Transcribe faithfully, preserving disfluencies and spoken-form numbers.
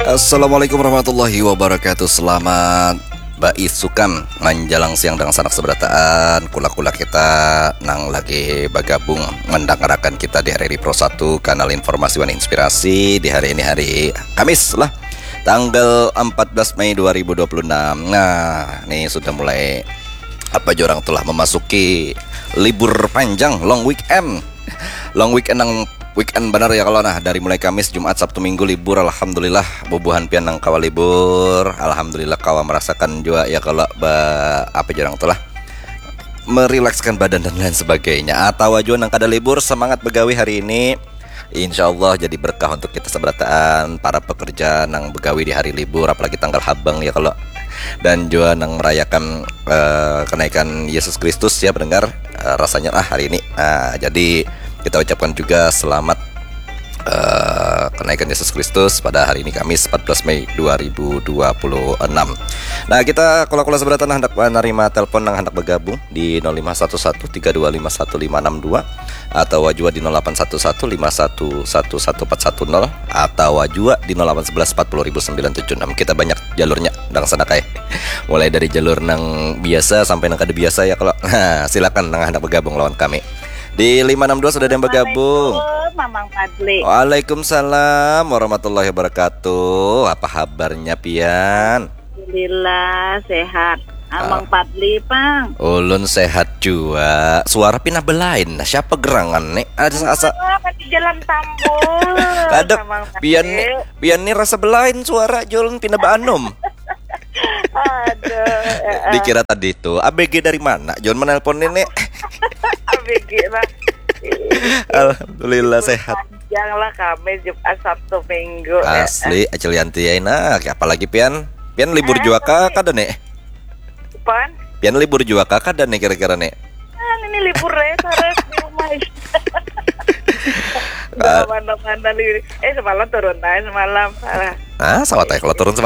Assalamualaikum warahmatullahi wabarakatuh. Selamat baisukan manjalang siang dengan sanak seberataan, kula-kula kita nang lagi bagabung mendangarakan kita di hari Pro satu, kanal informasi wan inspirasi di hari ini, hari Kamis lah, tanggal empat belas Mei dua ribu dua puluh enam. Nah, nih sudah mulai apa jorang telah memasuki libur panjang, long weekend. Long weekend nang weekend benar ya kalau nah, dari mulai Kamis, Jumat, Sabtu, Minggu libur, alhamdulillah. Bubuhan pian nang kawa libur, alhamdulillah kawa merasakan jua ya kalau ba, apa jorang telah merilekskan badan dan lain sebagainya. Atau jua nang kada libur, semangat begawi hari ini. Insya Allah jadi berkah untuk kita seberataan, para pekerja nang begawi di hari libur, apalagi tanggal habang ya kalau, dan jua nang merayakan uh, kenaikan Yesus Kristus ya pendengar. Uh, rasanya ah hari ini. Uh, jadi kita ucapkan juga selamat uh, kenaikan Yesus Kristus pada hari ini, Kamis empat belas Mei dua ribu dua puluh enam. Nah, kita kula-kula seberatan hendak menerima telepon yang hendak bergabung di nol lima satu satu tiga dua lima satu lima enam dua atau jua di nol delapan satu satu lima satu satu satu empat satu nol atau jua di nol delapan sebelas empat puluh ribu sembilan tujuh enam. Kita banyak jalurnya, dang sana kai. Mulai dari jalur nang biasa sampai nang kada biasa ya kalau. Nah, silakan nang hendak bergabung lawan kami. Di lima enam dua sudah ada yang bergabung. Assalamualaikum, Mamang Fadli. Waalaikumsalam warahmatullahi wabarakatuh. Apa kabarnya pian? Alhamdulillah sehat. Amang Fadli pang. Ulun sehat jua. Suara pina belain. Nah, siapa gerangan nih? Ada asa. Apa di jalan tambul? Kada, Amang Fadli. Pian nih, pian nih rasa belain suara, Jol, pina baanum. Aduh, eh, eh. Dikira tadi tuh A B G dari mana? Jol menelpon ini. A B G lah. Alhamdulillah sehat. Panjang lah kami Jumat, Sabtu, Minggu. Eh, eh. Asli, Acil Yanti ya, nah, apalagi pian? Pian libur jua kah kada nih? Pan? Pian libur jua kah kada nih kira-kira nih? Ah, ini libur ya, terus di rumah. Mana-mana libur. Eh, semalam turun aja semalam. Ah, sawat aja kalau turun semalam.